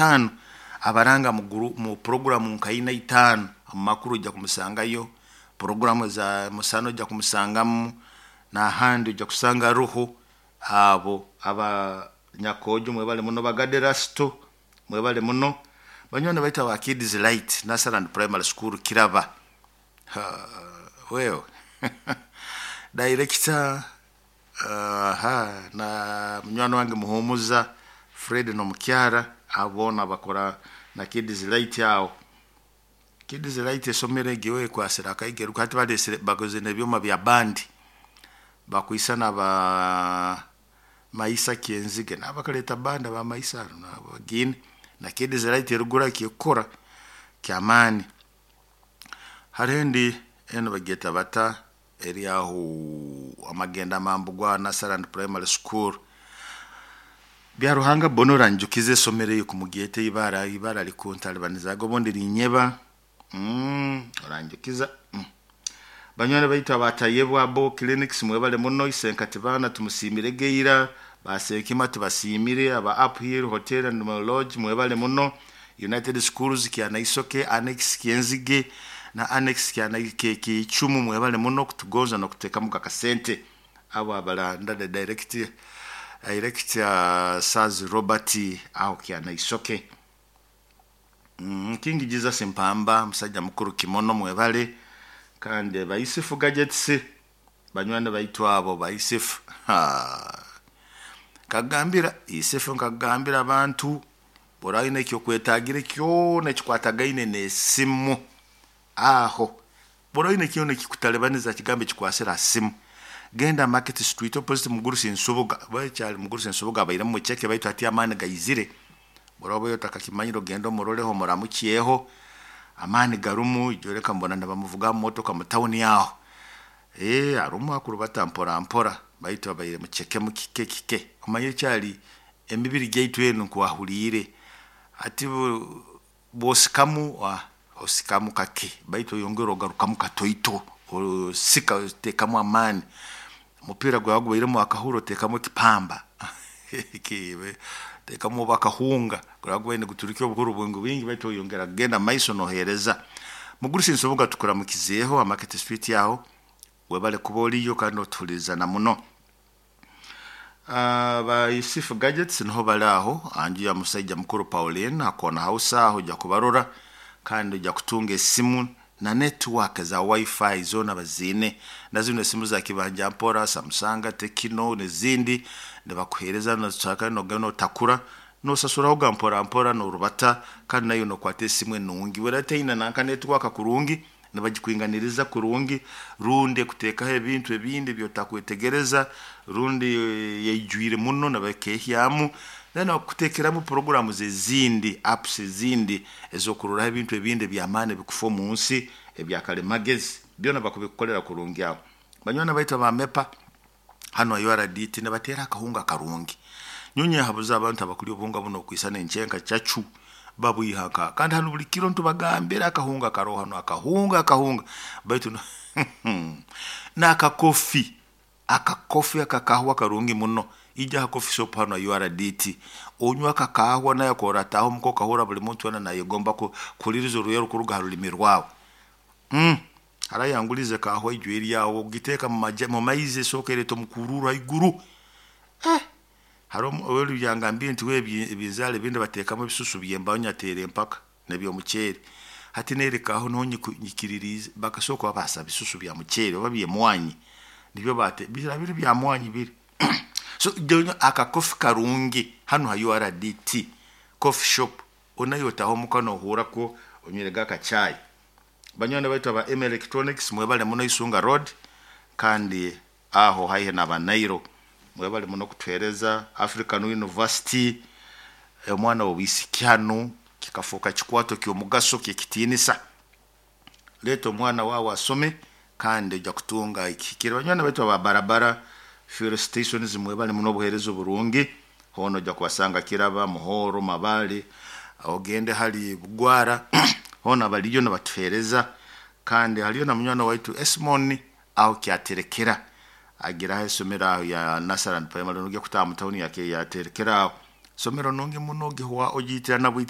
Rwakutaano abaranga mu puroguramu nka ina itaano. Omu makuru ojja kumusangayo, puroguramu za musana ojja kumusangamu, n'ahandi ojja kusanga ruhu. Abo aba Nyakojo mwebale muno, bagaderasto mwebale muno, banywani baitu aba Kids Light Nursery and Primary School Kiraba. Ha, wewe director, aha, na munywani wange Muhumuza Fred n'omukyara, abo boona bakora na Kids Light aho. Kids Light esomero egyo ekwasire akaigeru, hati balesere bakoze n'ebyoma bya bandi bakwisana ba Maisa Kyenzige nabakaleta bandi aba Maisa nabagine na Kids Light erugura kyekukora kyamaani. Hariho endi enu bagyeta bata eri aho amagenda mambu gwa Nursery and Primary School. Byaruhanga bono oranjukiza esomero eyo kumugyeta ibara ibara likuntalibanizaga obundi linyeba, oranjukiza. Banywani baitu abatayebwa bo clinics mwebale muno, Isenkati baana tumusiimire geira, basenkima tubasiimire, aba Uphill Hotel and Lodge mwebale muno, United Schools Kyanaisoke, Annex Kyenzige na Annex Kichumu mwebale muno kutugonza n'okutekamu akasente. Abo abalanda the director Saz Robert aho Kyanaisoke. King Jesus Mpamba musajja mukuru kimono mwebale, kandi Baisifu Gadgets banywani baitu abo Baisifu. Kagambira Isifu, nkagambira abantu borayina ekyokwetagira kyona ekikwatagaine n'esimu aho borayina kyona ekikutalibaniza kigambo ekikwasira simu, genda Market Street opposite Mugurusi Nsubuga. Bakyali Mugurusi Nsubuga abairemu mucheke, baitu hati amaani gaizire. Boroba otakakimanyire ogenda omuroleho omuramukyeho, amaani garumu. Ijoreka mbona nibamuvuga mu motoka mu tawuni aho, arumu akurubata mpora mpora, baitu abaire mucheke mukike kike. Omanye kyali emibiri gyaitu enu nkwahuriire ati bwosikamu osikamu kake, baitu oyongera ogarukamu katoito, osika otekamu amaani. Omupiira gwawe gubairemu akahuro otekamu ekipamba tekamu oba akahunga, guraba gubaire niguturukya obuhuru bwingi bwingi, baitu oyongera kugenda maiso nohereza. Mugurusi Nsubuga tukuramukizeeho Market Street aho, webale kuba oliyo kandi otuhuliriza na muno. Ba Yusufu Gadgets niho bali aho anju ya musaija mukuru Pauline akona house aho, ojja kubarora kandi ojja kutunga esimu na network za wifi zona baziine, na zino esimu za kibanja mpora, Samsung, Tecno n'ezindi nibakuhereza nozishaka nogenda notakura nosasuraho ga mpora mpora norubata, kandi nayo nokwata esimu enungi werataine nanka network kurungi nibagikwinganiriza kurungi, rundi ekutekaho ebintu ebindi byotakwetegereza, rundi yaijwire muno nibakehyamu, then bakutekeramu programs ezindi, apps ezindi ezokuroraho ebintu ebindi ebyamaani ebikufa omu nsi ebyakalimagezi byona bakubikukolera kurungi aho. Banywani baitu aba MEPA hano URDT nibateera akahunga karungi. Nyonyi habuza abantu abakulya obuhunga buno okwisana enchenka chachu babwihaka, kandi hano buli kiro ntubagambira akahunga karoho hano, akahunga akahunga baitu n'akakofi akakofi akakahwa karungi muno. Ija ha coffee shop hano URDT onywa akakahwa naye korataho muko kahura buli muntu wena nayegomba kuliriza oruya rukuruga ha rulimi rwawe. Harayangulize kahwa ijwe eryawo ogiteeka mu maizi esooka ereeta omukururu haiguru. Hariho owelu yangambire nti we ebinzaali ebindi bateekamu ebisusu by'embaaho nyateera empaka n'ebyomuceeri. Hati nerekaho niho nyikiririize bakasooka babaasa bisusu bya muceeri oba by'emwanyi nibyo bate bira biri bya mwanyi biri. So akakofi karungi hano ha URDT coffee shop onayo otaho omuka nohura ko onywirege akachai. Banywani baitu aba M Electronics mwebale muno Isunga Road kandi aho haihi na Banairo mwebale muno kutuhereza. African University omwana w'obwisiki hano kikafuuka kikwato ky'omugaso ky'ekitiinisa. Leeta omwana wawe asome kandi ojja kutunga ekihikire. Banywani baitu aba barabara fuel stations mwebale muno obuheereza oburungi, hoona ojja kubasanga Kiraba, Muhoro, Mabale, ogende hali Bugwara hoona baliyo nibatuheereza. Kandi haliyo na munywani waitu Esmon aho kyaterekera agiraho esomero aho ya Nursery and Primary nogya kutaha mu tawuni yake yaterekera aho somero nungi muno ogihwa ogiitirana.